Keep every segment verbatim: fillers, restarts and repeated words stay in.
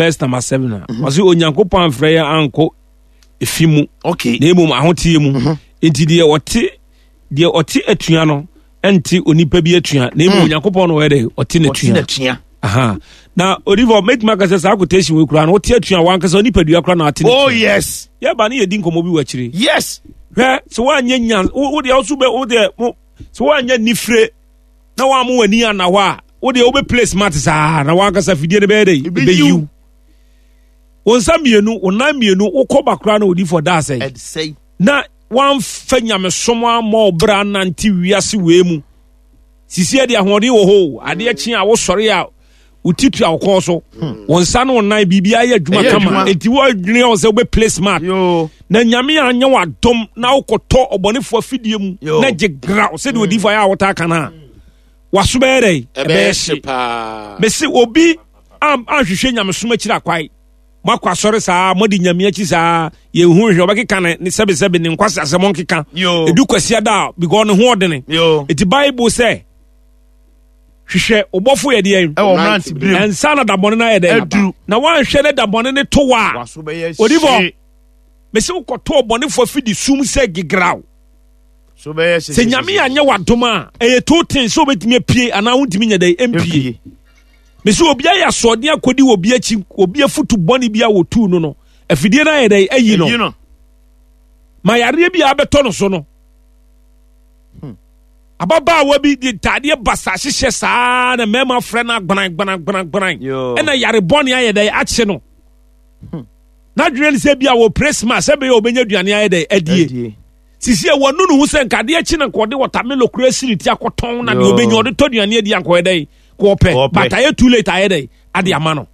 verse number seven a, ɔse Onyankopɔn amfrɛ yɛn ankɔ efi mu, okay na mmom ahoteɛ mu. Enti deɛ ɔte deɛ ɔte atua no ɛnte onipa bi atua, na mmom Onyankopɔn no ɔyɛ dɛ ɔte ɔte n'atua. N'atua. Aha. Na odifo, mɛtumi aka sɛ saa quotation wei koraa no, wote atua a, wankasa onipadua koraa na ate oh n'atua. Yes yɛba ne yɛdi nkɔmmɔ bi wɔ akyire. Yes hwɛ, sɛ woanyɛ nya wo wo deɛ, wo so bɛ wo deɛ mo sɛ woanyɛ nifire na woammo w'ani anna hɔ a, wo deɛ wobɛ play smart saa na wankasa fidie no bɛyɛ dɛ ɛbɛyiw. Ɛbɛyiw wo nsa mmienu, wo nan mmienu, wokɔ ba koraa na odifo da asɛe. Ɛsɛe. Na wamfa nyamesom ammɔ wo berɛ anante wiase wei mu sisi de ahoɔden wɔ hɔ o. Adeɛ kye a wosɔre a, wo ti tua wo kɔn so, wo nsa ne wo nan biribiara yɛ adwuma Ɛyɛ kama. adwuma. Enti woadwene wo sɛ wobɛ play smart yo na Nyame anyɛ w'adom na wokɔtɔ ɔbɔnefoɔ afidie mu Yo. na gye graw sɛdeɛ odiyifoɔ ayɛ a wotaa ka no a, waso bɛyɛ dɛn? Ɛbɛyɛ hye paa. Mese obi am- anhwehwɛ nyamesom akyiri akwae, moakɔ asɔre saa, moadi Nyame akyi saa, yɛhu hwɛ ɔbɛkeka ne ne sɛbesɛbe ne nkwase asɛm ɔnkeka. Yo. Ɛdu kwasia da a, because ne ho ɔdene. Yo ɛti Bible sɛ hwehwɛ wobɔfo yɛ deɛn? Ɛwɔ mmerante berɛ mu. Ɛnsa na dabɔne no ayɛ dɛn? Aduru. Na woanhwɛ ne dabɔne ne to wɔ a, waso bɛyɛ Odifo. hye. Mese wokɔtɔ ɔbɔnefoɔ afidi sum sɛ gegraw. So bɛyɛ hye. Sɛ Nyame anyɛ w'adom a, ɛyɛ two things sɛ wobɛtumi apue anaa wontumi nyɛ dɛn mpie. Mese obi ayɛ asoɔden akɔdi wɔ obi akyi, obi afutu bɔne bi a wɔtuu no no afidie no ayɛ dɛn? Ayi no. Ɛyi no. Ma yareɛ bi a abɛtɔ no so no, ababaawa bi de ntaadeɛ basa hyehyɛ saa na mmarima frɛ no agbanan gbanan gbanan gbanan. Yo. Ɛna yare bɔne ayɛ dɛn? Akye no. N'adwene ne sɛ bi a wɔ presma sɛ bɛyɛ ɔbɛnya aduane ayɛ dɛn? Adie. Adie. Sisi a wɔnu ne ho sɛ nkadeɛ kyi na nka ɔde wɔtamelo kura si ne ti akɔtɔn na deɛ Yo. ɔbɛnya ɔde tɔ aduane adi ankɔyɛ dɛn kɔɔpɛ. Kɔɔpɛ. But ayɛ too late, ayɛ dɛn ade ama no.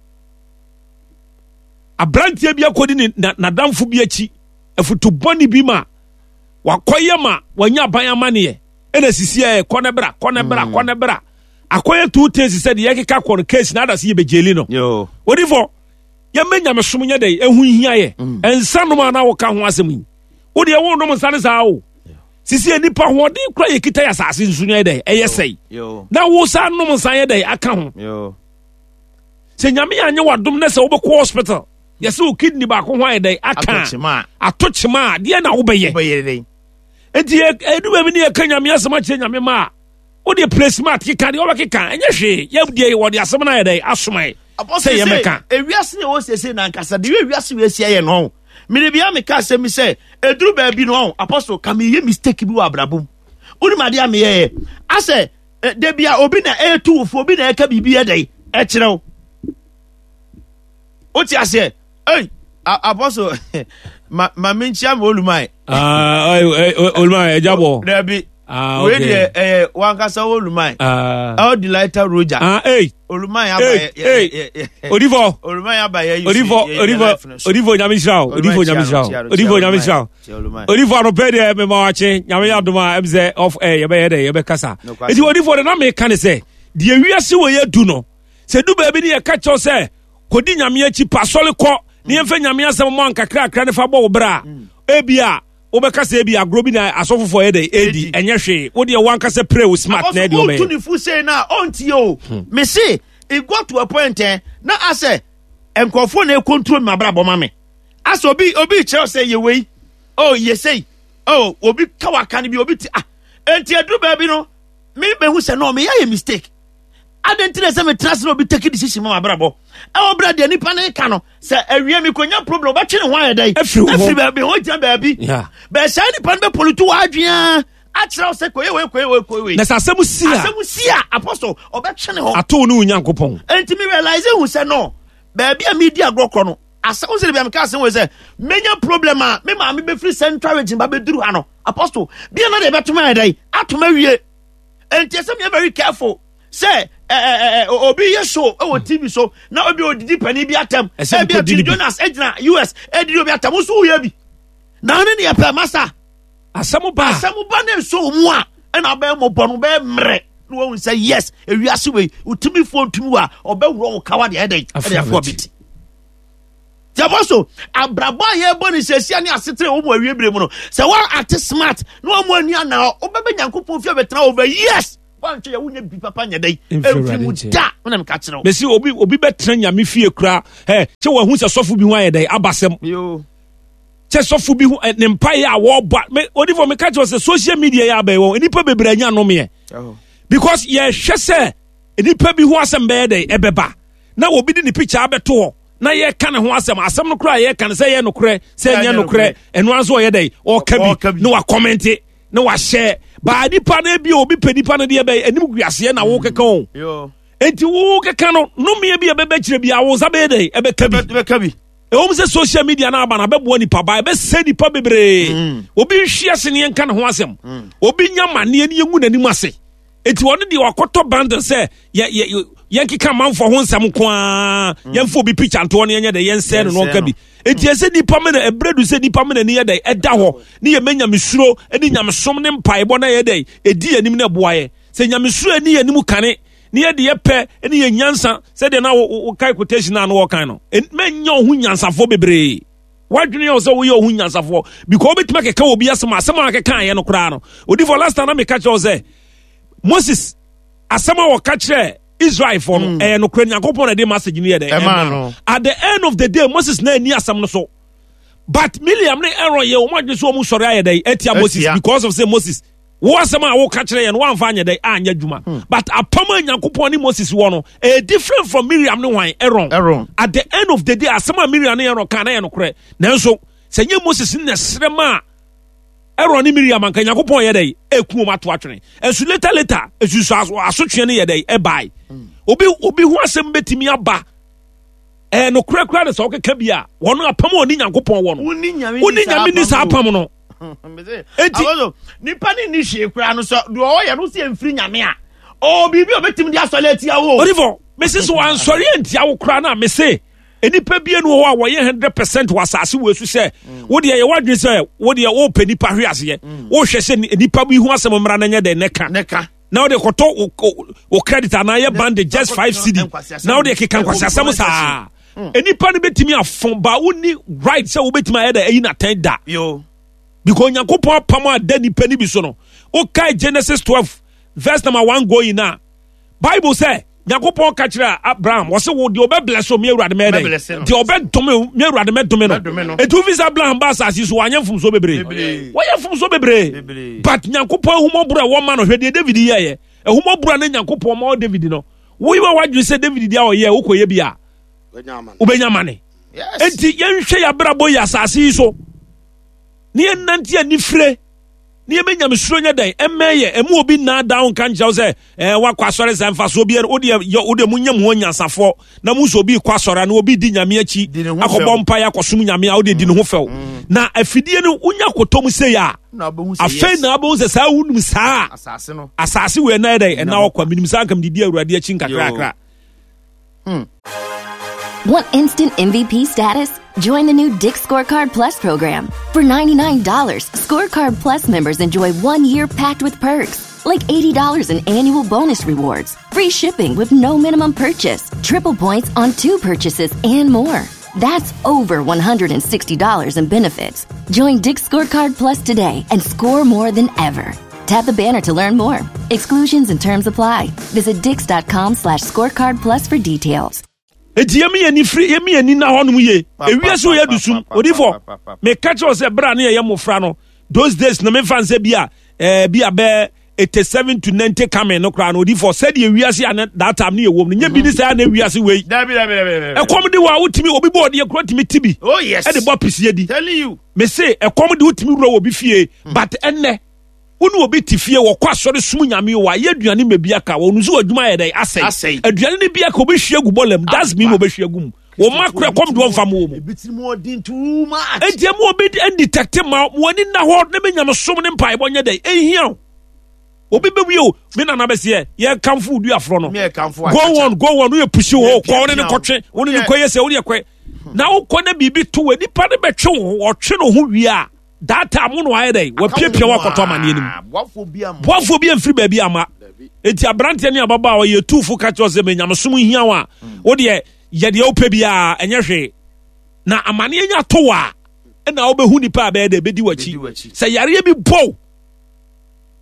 Aberanteɛ bi akɔdi ne na- n'adamfo bi akyi afutu bɔne bi ma wakɔyɛ ma wanya aban amanneɛ, ɛna sisi ɛ kɔ ne bra, kɔ ne bra, kɔ ne bra, akɔyɛ two things sɛ deɛ yɛkeka kɔ no case na ada sɛ yɛbɛgyeli no. Yo odifo, yɛmɛ nyamesom nyɛ dɛ ɛho hia yɛ. Ɛnsa nom a na woka ho asɛm yi, wodeɛ wonom nsa ne saa o. Sisi yɛ nipa hoɔden kora yɛkita yɛ asase nso nyɛ dɛ ɛyɛ sɛe yo na wo saa nom nsa yɛ dɛ aka ho. Yo Sɛ Nyame anyɛ w'adom na sɛ wobɛkɔ hospital, yɛsɛ wo kidney baako ho ayɛ dɛ aka. Ato kyema. Ato kyema a, deɛ na wobɛyɛ? Wobɛyɛ dɛn? Enti yɛ- ɛdu baabi ne yɛka Nyame asɛm akyerɛ Nyame ma a, wodeɛ play smart keka deɛ wobɛkeka, ɛnyɛ hwee. Yɛdeɛ wɔde asɛm no ayɛ dɛ asoma yɛ sɛ yɛmɛka. Ewiase ne ɛwɔ sese na ankasa de ewiase wei asi ayɛ no ɔn mene bia meka asɛm bi sɛ ɛduru baabi no ɔn apostle ka meyɛ mistake bi wɔ abrabɔ mu. Wonim adeɛ a meyɛyɛ asɛ eh, da bia obi na ɛɛtu wo fo, obi na ɛka biribi ɛdɛn ɛkyerɛ wo, wote aseɛ? Ei, a- apostle, ma ma menkyia me oluman. Oluma ɛgya bɔ. Dabi. Ah, wei okay. deɛ ɛyɛ wankasa wo oluman. Ah. El Delighter Roger. Ah, ei. Oluman aba. Ei, yɛ- yɛ- ei. yɛ- yɛ- Odifo. Oluman aba yɛ Odifo, odifo, odifo, Nyame nhyira wo. Odifo, Nyame nhyira wo. Odifo, Nyame nhyira wo. Odifo, anɔpɛ deɛ mema wakye. Nyame yɛ adom a, ɛm sɛ off air yɛbɛyɛ dɛ yɛbɛkasa. Nokwasɛm. Enti odifo de na meka ne sɛ deɛ wiase wɔ yɛ du no, sɛ du baabi ne yɛka kyɛw sɛ kɔdi Nyame akyi, pa asɔre kɔ ne yɛmfa Nyame asɛm mmɔ ankakrakra ne fa bɔ wo berɛ a, ebi a wobɛka sɛ ebi agorɔ bi na asɔfofoɔ yɛ dɛ ɛdi, ɛnyɛ hwee. Wodeɛ wankasa pray wo smart na ɛdeɛ wotu wobɛyɛ. ne fu sei no a ɔntie o. Me se it got to a point eh, na asɛ nkurɔfoɔ na ɛcontrol me abrabɔ ma me, asɛ obi obi kyerɛw sɛ yɛ wei, oh yɛ sei, oh obi ka waka no bi obi ti ah. Enti aduru baabi no me bɛhu sɛ no meyɛ yɛ mistake. Adɛn nti na sɛ metena ase na obi take decision ma mabrabɔ ɛwɔ berɛ deɛ nipa no ka no sɛ awie mekɔnya problem, ɔbɛtwe ne ho ayɛ dɛn? Afiri wo ho. Afiri baabi ho gyina baabi. Yeah. Bɛɛ saa nipa no bɛpollute w'adwene akyerɛ wo sɛ kɔyɛ wei, kɔyɛ wei, kɔyɛ wei. Na sɛ asɛm si a, asɛm si a, apostle, ɔbɛtwe ne ho. Ato ne wo Nyankopɔn. Enti me realize hu sɛ no baabi a medi agorɔ korɔ no asɛm sɛ bia meka asɛm wei sɛ menya problem a, me maame bɛfiri Central Region ba bɛduru ha no, apostle, bia na deɛ bɛtoma yɛ dɛn atom awie. Enti ɛsɛ meyɛ very careful sɛ ɛ, ɛ, ɛ, obi yɛ show ɛwɔ T V so na obi odidi panin bi atɛm. Ɛsɛ ebi mekɔdi atwi ne bi. Jonas egyina U S edidi obi atɛm nso woyɛ bi na ɔne ne yɛ pɛ masa. Asɛm ba a, asɛm ba ne nso wo mu a, ɛna ɔbɛyɛ mmɔbɔ no bɛyɛ mmerɛ na wahu sɛ yes, ewiase wei wotumi ntumi wɔ a ɔbɛworɔ wo kawa deɛ ɛdɛn ɛde afoɔ bi ti tiɛfɔ so. Abrabɔ a yɛbɔ ne sɛsia ne asetere wɔ mu awie bere mu no, sɛ wɔn ate smart na wɔn ani ana hɔ, wobɛbɛ Nyankopɔn fie bɛtena over years. Woantwe yɛ wonya bi papa nyɛ dɛn Mfiri ɛmfiri Awurade mu nkyɛn. da. Wona meka kyerɛ wo. Mesi obi obi bɛtena Nyame fie koraa ɛ kyɛ wahu sɛ sɔfo bi ho ayɛ dɛn abasɛm. Yo. Kyɛ sɔfo bi ho ɛ, ne mpaeɛ a wɔbɔ a- me odifo, meka kyerɛ wo sɛ social media yɛ abɛn wɔn nnipa bebree anya nomeɛ because yɛhwɛ sɛ nnipa bi ho asɛm bɛyɛ dɛn ɛbɛba na obi de ne picture abɛto hɔ na yɛka ne ho asɛm. Asɛm no koraa yɛka no sɛ ɛyɛ nokorɛ sɛ ɛnyɛ Ɛnyɛ nokorɛ, ɛno ara nso ɔyɛ dɛn ɔka Ɔka bi bi. na wakɔmmɛnte na wahyɛ baa nipa no bi a obi pɛ nipa no deɛ bɛyɛ anim guaseɛ na wokeka o. Yo. Enti wokeka no nomeɛ bi a ɛbɛbɛ kyerɛ bi a wo nsa bɛyɛ dɛn ɛbɛka bi. Bɛka bi. Ɛwɔm sɛ social media no aba no abɛboa nipa ba, ɛbɛsɛ nipa bebree. Mm. Obi nhwe ase ne yɛnka ne ho asɛm, obi nya manneɛ ne yɛngu n'anim ase. Enti ɔno deɛ wakɔtɔ bundle sɛ yɛ- yɛ- yɛ- yɛnkeka amanfoɔ ho nsɛm nko a, yɛmfa obi picture ntoɔ no yɛnyɛ dɛ yɛnsɛe no na ɔnka bi. Enti ɛsɛ nipa mena ɛberɛ du sɛ nipa mena ni yɛ dɛ ɛda hɔ ne yɛmɛ nyamesuro ne nyamesom ne mpaebɔ na yɛ dɛ ɛdi yɛn anim na ɛboa yɛ sɛ nyamesuro ani yɛn anim kane ne yɛde yɛpɛ ne yɛ nyansa sɛdeɛ na wo- wo- wokae quotation a na wɔkan no. En- mɛnyɛ wo ho nyansafoɔ bebree. Wadwene yɛ wo sɛ woyɛ wo ho nyansafoɔ because wobɛtumi akeka wɔ bi asɛm a asɛm a akeka yɛ no koraa no. Odifo, last time na meka kyerɛ wo sɛ Moses asɛm a wɔka kyerɛ Israelfoɔ no ɛyɛ nokorɛ. Nyankopɔn na ɛde message no yɛ dɛ Ɛmaa ɛmaa no. At the end of the day, Moses na ani asɛm no so, but Miriam ne Aaron yɛ wɔn adwene so wɔn sɔre ayɛ dɛ ɛtia Moses Atia. because of say Moses wo asɛm a woka kyerɛ yɛn no woamfa anyɛ dɛ anyɛ adwuma. But apam a Nyankopɔn ne Moses wɔ no ɛyɛ different from Miriam ne hwan? Aaron. Aaron. At the end of the day, asɛm a Miriam ne Aaron ka na yɛ nokorɛ, nanso sɛ nyɛ Moses ne srɛ ma a Aaron ne Miriam anka Nyankopɔn yɛ dɛ eku wɔn ato atwene. Ɛnso later later esusu aso asotwe no yɛ dɛ ɛbae. Obi obi ho asɛm bɛtumi aba ɛɛ nokorɛ koraa de sɛ ɔkeka bi a wɔn apam a ɔne Nyankopɔn wɔ no Woni Nyame wone Nyame ni saa apam no. Enti- Enti nipa ne ni hwee koraa no sɛ deɛ ɔyɛ no sɛ mfiri Nyame a ɔwɔ biribi a ɔbɛtumi de asɔre atia wo. Odifo, mese sɛ wansɔre antia wo koraa no a, mese nnipa bie no wɔ hɔ a wɔyɛ hundred percent wɔ asase wɔ esu sɛ wodeɛ yɛ wadwene sɛ wodeɛ wopɛ nipa hwe aseɛ, wohwɛ sɛ ni- nipa bi ho asɛm mmara no nyɛ dɛn ne ka Ne ka. Na wode kɔtɔ wo- wo- wo credit anaa yɛ band just five cedi na wode keka nkwasiasɛm saa. Nipa no bɛtumi afo ba, wonni right sɛ wobɛtumi ayɛ dɛ ayi natɛn da Yo. because Onyankopɔn apam a da nipa no bi so no, wokae Genesis twelve verse number one going na Bible sɛ Nyankopɔn ka kyerɛ Abraham, wɔse wo deɛ ɔbɛbless o, me Awurade mɛyɛ dɛn? Mɛbless no. Deɛ ɔbɛdome, me Awurade mɛdome no. Mɛdome no. Enti wofi sɛ Abraham ba asase yi so wanyɛ mfomsoɔ bebree? Bebree. Wɔyɛ mfomsoɔ bebree. Bebree. But Nyankopɔn ahumɔborɔ a ɛwɔ ma no, hwɛ deɛ David yɛɛyɛ. Ahumɔborɔ a ne Nyankopɔn ma ɔ David no, woyi wa wadwene sɛ David deɛ a ɔyɛ wokɔyɛ bi a wobɛnya mane. Yes. Enti yɛnhwɛ yɛabrabɔ yi asase yi so ne yɛnnante anifire ne yɛbɛnya mesuro nyɛ dɛn ɛmmɛn yɛ ɛmu obi nnaa da wo nka nkyerɛ wo sɛ ɛɛ wakɔ asɔre sɛ mfasoɔ bi wodeɛ yɛ wodeɛ munyɛ mo ho nyansafoɔ na mu sɛ obi kɔ asɔre a na obi di Nyame akyi Di ne ho akɔbɔ fɛw. mpaeɛ akɔsom Nyame a wodeɛ di ne ho fɛw na afidie no wonya kɔtɔ mu sei a Na wobɛhu sɛ afei yes. na wobɛhu sɛ saa wonim saa a asase no asase wei ɛna yɛ dɛn ɛna ɔkɔ menim saa nka medidi Awurade akyi nkakrakra. Want instant M V P status? Join the new Dick's Scorecard Plus program. For ninety-nine dollars Scorecard Plus members enjoy one year packed with perks, like eighty dollars in annual bonus rewards, free shipping with no minimum purchase, triple points on two purchases, and more. That's over one hundred sixty dollars in benefits. Join Dick's Scorecard Plus today and score more than ever. Tap the banner to learn more. Exclusions and terms apply. Visit dicks dot com slash scorecard plus for details. Eti yɛmi yɛ ni firi yɛmi yɛ ni na hɔnom yie ewiase wo yɛ dusum. Odifo, meka kyerɛ wo sɛ bere a ne yɛyɛ mmɔfra no, those days no, memfa nsɛ bi a ɛɛ bi a bɛɛ eighty seven to ninety coming no koraa no, odifo, sɛdeɛ ewiase a ne that time ne yɛ wɔm no nye bi ne saa na ewiase wei. Dabi, dabi, dabi, dabi. Ɛkɔm de wɔ a wotumi obi bɔ ɔdeɛ kuro tumi ti bi Oh yes. ɛde bɔ pisie di. Telling you. Mese ɛkɔm de wotumi wura wɔ bi fie, but ɛnɛ wo ne obi te fie wɔkɔ asɔre sum Nyame o, ayɛ aduane ma bi aka wɔn nso adwuma yɛ dɛ asɛe. Asɛe. Aduane no bi aka obɛhwie gu bɔlɛm dustbin na obɛhwie gu mu wɔn ma kora kɔm de wɔmfa mo wɔ mu. Ebi tiri mu ɔden too much. Enti ɛmu obi ndetect ma mo ani nna hɔ ne me nyamesom ne mpaebɔ nyɛ dɛ ɛhia o. Obi bɛwie o, me nana bɛseɛ yɛkamfo wo duaforɔ no. Me yɛ kamfo. Go on, go on, woyɛ pusi hɔ kɔ wo ne ne Pia, pia. kɔtwe wo ne ne Yeah. kɔyɛ sɛ wodeɛ kɔɛ na wokɔ na biribi to wɔ nipa ne bɛtwe wo ho ɔtwe ne ho wie a, that time wo no ayɛ dɛ wapiapia wakɔtɔ amanneɛ no mu. Boafo bi ama. Boafoɔ bi amfiri baabi ama. Enti aberanteɛ ne ababaa a ɔyɛ tuufo ka kyerɛ sɛ menyamesom hia wo a, wodeɛ yɛ deɛ wopɛ biara ɛnyɛ hwee na amanneɛ nya to wɔ a ɛna wobɛhu nipa a bɛyɛ dɛ bɛdi w'akyi. Bɛdi w'akyi. Sɛ yareɛ bi bɔw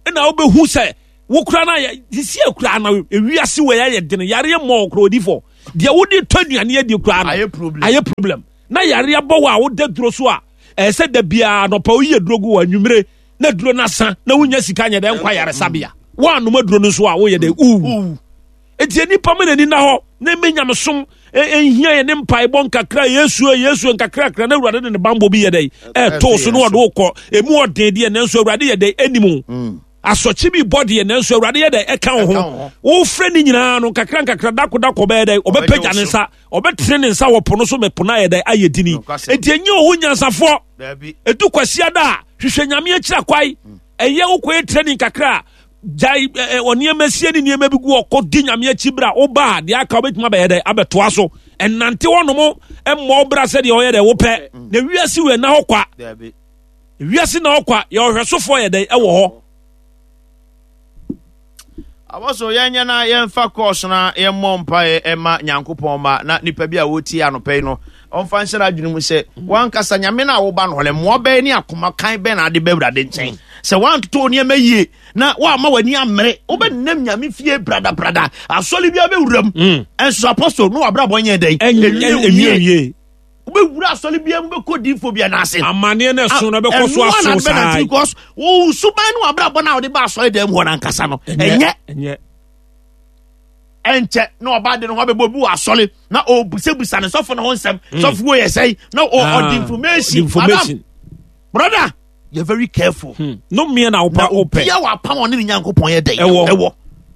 ɛna wobɛhu sɛ Wo kura na sisi akura na ewiase wɔ yɛ den yare mmɔ okro odifo. Deɛ wode tɔ aduane adi kura no. Ayɛ problem. Ayɛ problem. Na yare abɔ wo a woda duro so a ɛsɛ da biara nɔpa woyi aduro gu wɔ anwummere na duro no asa na wonya sika nyɛ dɛ nkwa yaresabea. Woanom aduro no nso a woyɛ dɛ uwu. Enti nipa ma n'ani na hɔ na ɛmɛ nyamesom ɛnhia yɛ ne mpaebɔ nkakra Yesu Yesu nkakrakra na Awurade de ne bambɔ bi yɛ dɛ ɛɛtoo so na ɔde wokɔ emu ɔden deɛ nanso Awurade yɛ dɛ anim asɔkye bi bɔ deɛ nanso Awurade yɛ dɛ ɛka wo ho wofrɛ ne nyinaa no nkakra nkakra dako dako bɛyɛ dɛ ɔbɛpagya ne nsa ɔbɛtene ne nsa wɔ po no so mɛ po no ayɛ dɛ ayɛ dini. Enti ɛnyɛ wo ho nyansafoɔ ɛdu kwasiada a hwehwɛ Nyame akyira kwae ɛyɛ wokɔyɛ training kakra jai ɔnneɛma sie ne nneɛma bi gu ɔkɔ di Nyame akyi bra woba a deɛ aka wobɛtumi abɛyɛ dɛ abɛtoa so ɛnante hɔnom mmɔ bra sɛdeɛ ɔyɛ dɛ wopɛ na wiase wei na hɔ kwa wiase na hɔ kwa yɛ ɔhwɛsofoɔ yɛ dɛ ɛwɔ hɔ. Abɔso yɛnyɛ na yɛmfa kɔɔso na yɛmmɔ mpaeɛ ɛma Nyankopɔn ma na nipa bi a wɔtie anɔpɛ yi no ɔmfa nhyɛ n'adwene mu sɛ wankasa Nyame no a woba no hɔ no mmoa bɛyɛ ne akoma kan bɛn na ade bɛ Awurade nkyɛn sɛ wantoto nneɛma yie na woama w'ani ammere wobɛnam Nyame fie bradabrada asɔre bi abɛwuram ɛnso apostle no wabrabɔ nyɛ dɛn ɛnwie wobɛwura asɔre bia mu bɛkɔ diifo bia n'ase amanneɛ no ɛso no bɛkɔ so aso saa because wo suban no wabrabɔ no a wode ba asɔre dɛm hɔ no ankasa no ɛnyɛ ɛnyɛ ɛnkyɛ na ɔba de no ho abɛbɔ bi wɔ asɔre na ɔbusabusa ne sɔfo no ho nsɛm sɔfo wo yɛ sɛn na ɔde information information brother you're very careful hmm. no mmea na wopa wopɛ obia wapam ɔne ne Nyankopɔn yɛ dɛn ɛwɔ ɛwɔ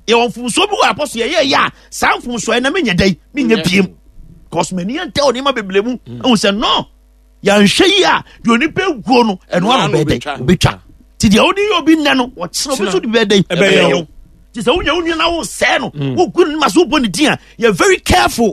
yɛwɔ mfomsoɔ bi wɔ apɔso yɛyɛ yɛ a saa mfomsoɔ yɛ na menyɛ dɛn menyɛ biem cause m'ani ntɛ wɔ nneɛma bebree mu ɛhu sɛ no yɛnhwɛ yi a deɛ onipa guo no ɛno ano bɛyɛ dɛn obɛtwa nti deɛ wode yɛ obi nnɛ no wɔkyerɛ obi so de bɛyɛ dɛn ɛbɛyɛ wo nti sɛ wonya wo nua na wosɛe no wogu no ma so wobɔ ne din a yɛ very careful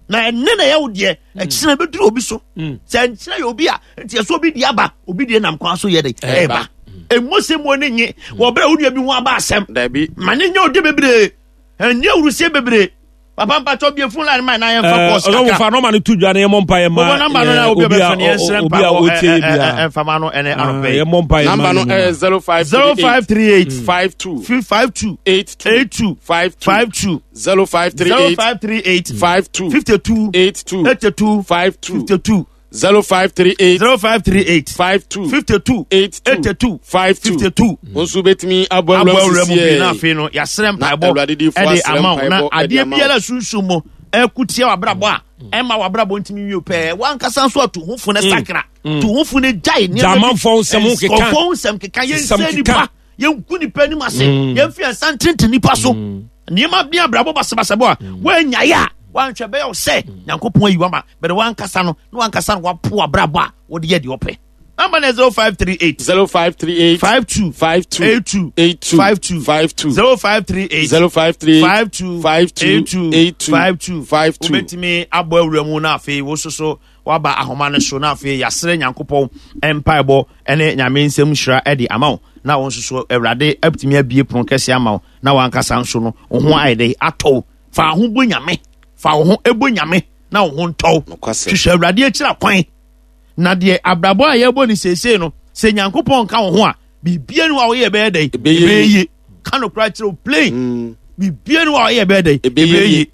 na ɛne na ɛyɛ wo deɛ ɛkyerɛ bɛduru obi so sɛ nkyerɛ yɛ obi a nti ɛsɛ obi deɛ aba obi deɛ nam kwan so yɛ dɛn ɛba ɛmmɔ sɛ mu ne nye wɔbrɛ wo nua bi ho aba asɛm ma ne nyɛ ode bebree ɛnyɛ awurusie bebree papa mpatsɔ bie phone line ma na yɛn fa kɔɔsi kakra. Ɔsɔfo fa nɔɔma no tu dwa na yɛn mɔ mpa yɛn ma bɔbɔ namba no na obi a bɛfɛ no yɛn srɛ mpa wɔ ɛnfa ma no ɛnɛ anɔpɛ yi. Yɛn mɔ mpa yɛn ma namba no ɛyɛ zero five zero five three eight five two five two eight two eight two five two five two zero five three zero eight five three eight five two fifty two eight two eighty two five two fifty two zero five three eight zero five three eight five two fifty two eight two eighty two five two fifty two. nso betumi abɔ abɔ awura mu bi na sisi afei no yɛasrɛ Na mpaebɔ Awurade difoɔ ɛde asrɛ ama wo na mpaebɔ ɛde adeɛ ama wo. biara sunsun mu ɛko tia w'abrabɔ a ɛma w'abrabɔ ntumi wie pɛɛ wankasa nso ato ho fo ne sakra to ho fo ne gyae nneɛma bi- Gyamanfoɔ nsɛm ho keka. nkɔfoɔ nsɛm keka Nsɛm yɛnsɛ keka. nipa yɛnku nipa anim ase yɛmfi yɛnsa ntenten nipa so nneɛma bi abrabɔ basabasabɔ a woanyaeɛ a wanhwɛ bɛyɛ wo sɛ Nyankopɔn ayi wama bɛde wankasa no na wankasa no wapo abrabɔ a wode yɛ deɛ ɔpɛ namba no zero five three eight zero five three eight five two five two eight two eight two five two five two zero five three eight zero five three eight five two five two eight two eight two five two five two. wobɛtumi abɔ awura mu na afei wo soso waba ahoma no so na afei yɛasrɛ Nyankopɔn mpaebɔ ne Nyame nsɛm hyira de ama wo na wo nso so Awurade atumi abie pono kɛseɛ ama wo na wankasa nso no wo ho ayɛ dɛ atɔ wo fa wo ho bɔ Nyame fa wo ho bɔ Nyame na wo ho ntɔ wo Nokwasɛm. hwehwɛ Awurade akyira kwan na deɛ abrabɔ a yɛbɔ ne seesei no sɛ Nyankopɔn nka wo ho a biribia ni hɔ a woyɛ bɛyɛ dɛn Ɛbɛyɛ yie ka no koraa kyerɛ wo plain biribia ni hɔ a woyɛ bɛyɛ dɛn Ɛbɛyɛ yie.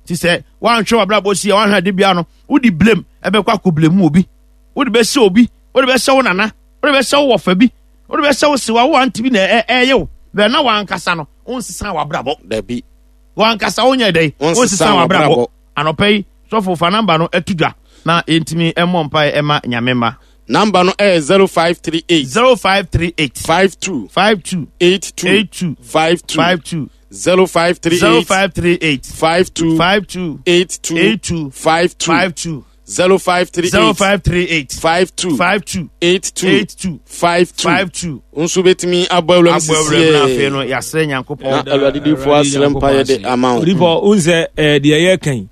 nti sɛ woanhwɛ w'abrabɔ si a woanhwɛ ade bia no wode blame ɛbɛkɔ akɔ blame obi wode bɛhyɛ obi wode bɛhyɛ wo nana wode bɛhyɛ wo wɔfa bi wode bɛhyɛ wo sewa wo ante bi na ɛ- ɛyɛ wo bɛn na wankasa no wonsesa w'abrabɔ Dabi. wankasa wonyɛ dɛn Wonsesa wonsesa w'abrabɔ w'abrabɔ. anɔpa yi sɔfo fa namba no atu dwa na yɛntumi mmɔ mpae ɛma Nyame ma Number no ɛyɛ zero five three eight zero five three eight five two five two eight two eight two five two five two zero five three zero eight five three eight five two five two eight two eight two five two five two zero five three zero eight five three eight five two five two eight two eight two five two five two nso betumi abɔ awura mu abɔ awura mu na afei sisi no yɛasrɛ Nyankopɔn na Awurade difoɔ asrɛ mpaeɛ de ama wo Odiifo wo sɛ deɛ yɛka yi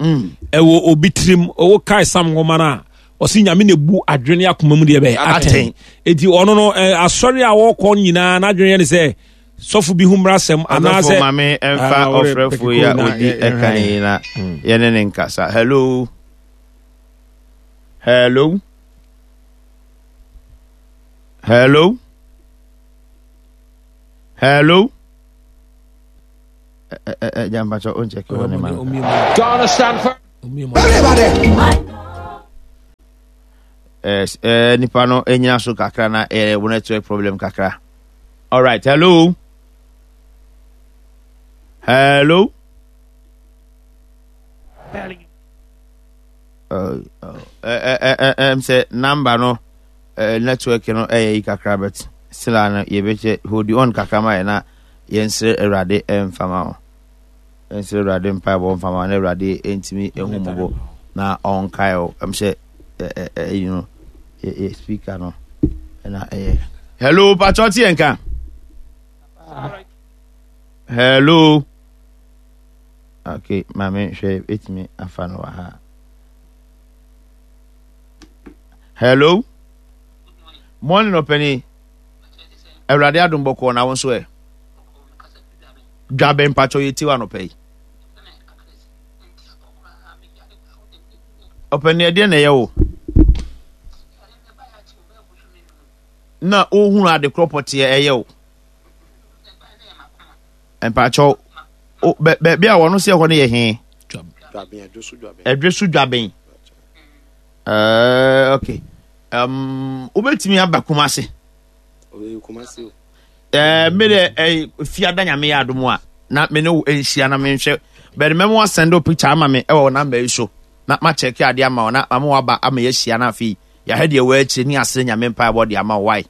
ɛwɔ obi tirim ɔwɔ kae sam nwoma no a ɔsi Nyame na ebu adwene akoma mu deɛ bɛyɛ atɛn eti ɔno no asɔre a wɔkɔ nyinaa n'adwene yɛ ne sɛ sɔfo bi ho mmra asɛm anaasɛ ɔsɔfo maame ɛmfa ɔfrɛfo yi a odi ɛkan yi na yɛne ne nkasa. Hello, hello, hello, hello, Ɛgya mpakyɛ ɔnkyɛke wɔ ne ma no. Ghana stand for. Eh, eh, nipa no ɛnyina so kakra na eh, wo network problem kakra. Alright, hello. Hello. Uh, uh, eh, eh, eh, eh, sɛ number no eh, network no ɛyɛ yi kakra, but still a no yɛbɛkyɛ hold on kakra ma yɛ na yɛnsrɛ Awurade ɛmfama wo, yɛnsrɛ Awurade mpaebɔ mfama wo na Awurade ɛntumi ɛhu mmɔbɔ na ɔnkae wo. Ɛm sɛ ɛyi no yɛ speaker no ɛna ɛyɛ. Hello, patwɔ te yɛn ka. Hello. Okay, maame hwɛ ɛtumi afa no wɔ ha. Hello. Morning, ɔpɛni. Awurade adom bɔkɔɔ na wo nso ɛ. Dwabe mpakyɛw yɛ tiwa anɔpɛ yi. Ɔpɛni, ɛdeɛ na ɛyɛ wo? Na wohunu ade korɔ pɔteɛ ɛyɛ wo? Mpakyɛw, baabi a wɔn sɛ ɛhɔ no yɛ he? Ɛdwe so dwaben. Uh, okay. Um, wobɛtumi aba Kumase? Eh, me de eh, fiada Nyame yɛ adom a na me ne wo nhyia na menhwɛ bɛde mɛmo asɛnde wo picture ama me ɛwɔ wo namba yi so na makyɛke adeɛ ama wo na ama waba ama yɛahyia na afei yɛahwɛ deɛ wɔ akyire ne asere Nyame mpaebɔ de ama wo. Wae,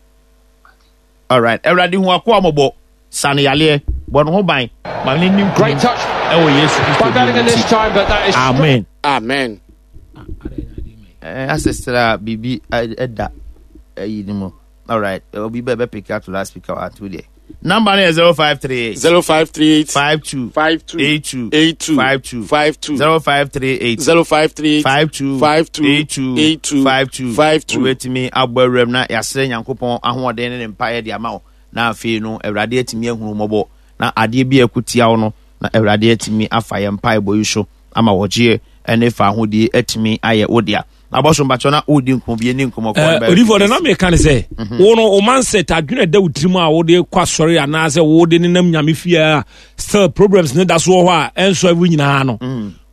alright. Awurade hu akoa mmɔbɔ, sa no yaleɛ, bɔ ne ho ban, ma ne nim Great touch ɛwɔ Yesu by Kristo din Bellingham mu this nti. time, but that is Amen. Amen. Eh, asestra biribi ɛda ɛyi ne mu. Alright, obi bɛ bɛ pick up to last speaker wa two deɛ. Number no yɛ zero five three eight. Zero five three eight. Five two. Five two. Eight two. Eight two. Five two. Five two. Zero five three eight. Zero five three eight. Five two. Five two. Eight two. Eight two. Five two. Five two. Wobɛtumi abɔ awuram na yɛasrɛ Nyankopɔn ahoɔden ne ne mpaeɛ de ama wo na afei no Awurade atumi ahunu mmɔbɔ na adeɛ bi a ɛko tia wo no na Awurade atumi afa yɛn mpaebɔ yi so ama wɔgyeɛ ne fa ahodie atumi ayɛ wo dea. Na bɔso mpakyɛ na wodi nkɔmmɔ bi ɛni nkɔmmɔ kɔ no bɛyɛ Odifoɔ de na meka ne sɛ wo no wo mindset adwene ɛda wo tirim a wode kɔ asɔre anaasɛ wode nenam Nyame fie a still problems ne da so wɔ hɔ a ɛnsɔ ɛwo nyinaa no,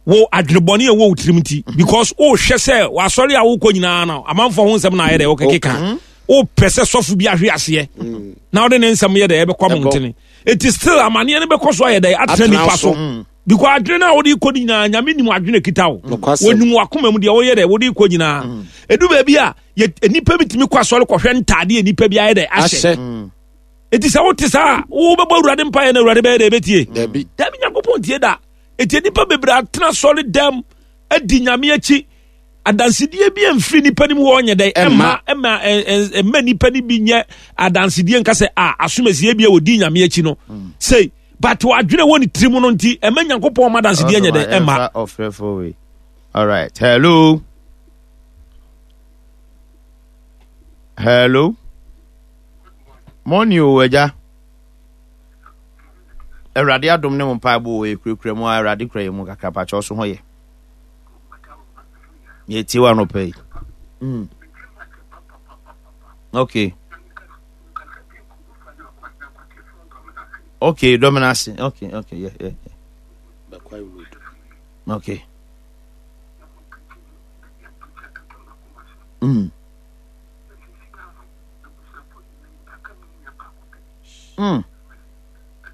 wo adwene bɔne a ɛwɔ wo tirim nti, because wohwɛ sɛ wasɔre a wokɔ nyinaa no amanfoɔ ho nsɛm na ayɛ dɛ wokɛkeka, wopɛ sɛ sɔfo bi ahwe aseɛ na wode ne nsɛm yɛ dɛ ɛbɛkɔ mmɔntene, enti still amanneɛ no bɛkɔ so ayɛ dɛ atena nipa so, because adwene no a wode kɔ no nyinaa Nyame nim adwene kita wo. Nokwasɛm. Wɔnim wakoma mu deɛ woyɛ dɛ wode kɔ nyinaa. Ɛdu baabi a yɛ- nnipa bi tumi kɔ asɔre kɔhwɛ ntadeɛ a nnipa bi ayɛ dɛ ahyɛ. Ahyɛ. Enti sɛ wote saa a wobɛbɔ Awurade mpaeɛ na Awurade bɛyɛ dɛ ɛbɛtie? Dabi. Dabi, Nyankopɔn tie da. Enti nnipa bebree atena asɔre dɛm adi Nyame akyi, adansedie bi amfiri nnipa no mu wɔ ɔnyɛ dɛ ɛmma ɛmma ɛ- ɛ- ɛmma nnipa no bi nyɛ adansedie nka sɛ a asomasie bi a wɔdi Nyame akyi no sei, but wadwene wɔ ne tirim no nti ɛmma Nyankopɔn ma adansedie nyɛ dɛ ɛmma. Ɔfrɛfo wei. Alright, hello. Hello. Morning o agya. Awurade adom ne mo mpaebɔ wɔ yɛkurakura mu a Awurade kura yɛ mu kakra pakyɛ ɔso ho yɛ. Yɛtie wa anɔpa yi. Mm. Okay. Okay, Dominase. Okay, okay, yeah, yeah, yeah. Bakwai Road. Okay. Mm. Mm.